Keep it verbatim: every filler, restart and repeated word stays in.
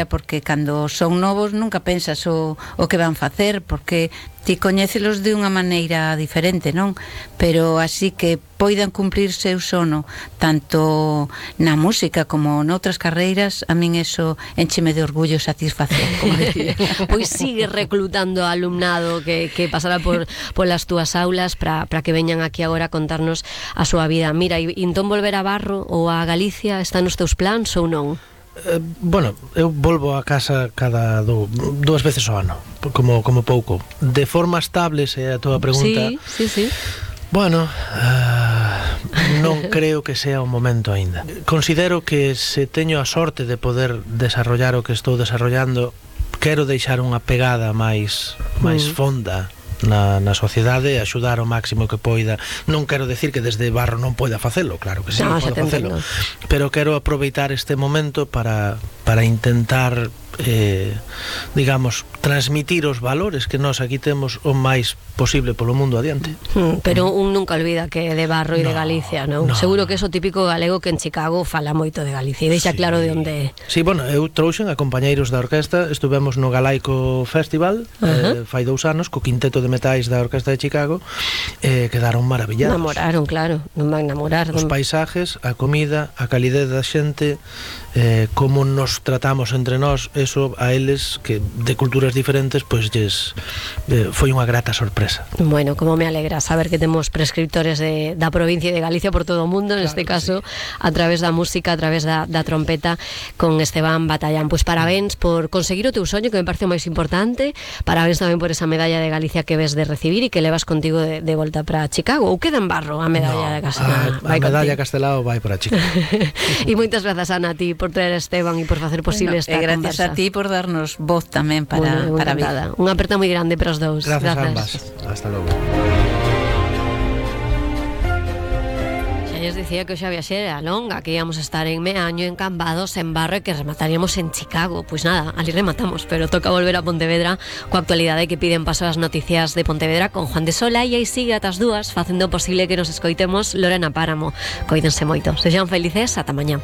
porque cando son novos nunca pensas o, o que van facer, porque ti coñécelos de unha maneira diferente, non? Pero así que poidan cumplir seu sono tanto na música como noutras carreiras, a min eso encheme de orgullo, satisfacción, como decía. Pois sigue reclutando alumnado que, que pasará por polas túas aulas para que veñan aquí agora a contarnos a súa vida. Mira, e entón volver a Barro ou a Galicia está nos teus plans ou non? Eh, bueno, eu volvo a casa cada do, dúas veces ao ano, como, como pouco. De forma estable, se é a tua pregunta. Sí, sí, sí. Bueno, uh, non creo que sea o momento aínda. Considero que se teño a sorte de poder desarrollar o que estou desarrollando, quero deixar unha pegada máis máis mm. fonda na, na sociedade, axudar o máximo que poida. Non quero decir que desde Barro non poida facelo, claro que sí, no, podo facelo, pero quero aproveitar este momento para, para intentar eh, digamos, transmitir os valores que nós aquí temos o máis posible polo mundo adiante. Mm, pero un nunca olvida que é de Barro e no, de Galicia, non? No. Seguro que é o típico galego que en Chicago fala moito de Galicia e deixa sí. claro de onde é. Sí, bueno, eu trouxen a compañeiros da orquesta, estuvemos no Galaico Festival, uh-huh. eh, fai dous anos, co quinteto de metais da Orquesta de Chicago, eh, quedaron maravillados. Namoraron, claro, non van namorar. Os paisajes, a comida, a calidez da xente, eh, como nos tratamos entre nós, eso a eles, que de culturas diferentes, pois lles eh, foi unha grata sorpresa. Bueno, como me alegra saber que temos prescriptores de, da provincia de Galicia por todo o mundo, neste claro, caso, sí. a través da música, a través da, da trompeta, con Esteban Batallán. Pois parabéns por conseguir o teu soño, que me parece o máis importante, parabéns tamén por esa medalla de Galicia que ves de recibir e que levas contigo de, de volta para Chicago, ou queda en Barro a medalla no, de Castelao? A, a medalla Castelao vai para Chicago. E moitas grazas, Ana, a ti por traer a Esteban e por facer posible bueno, esta gracias conversa. Gracias a ti por darnos voz tamén para, bueno, para ver. Unha aperta moi grande para os dous. Grazas, grazas. ambas. Hasta logo. Xa lles dicía que o xa viaxe era longa, que íamos a estar en Meaño, en Cambados, en Barro e que remataríamos en Chicago. Pois nada, ali rematamos, pero toca volver a Pontevedra coa actualidade que piden paso as noticias de Pontevedra con Juan de Sola, e aí sigue ata as dúas facendo posible que nos escoitemos Lorena Páramo. Coídense moito. Sexan felices, ata mañá.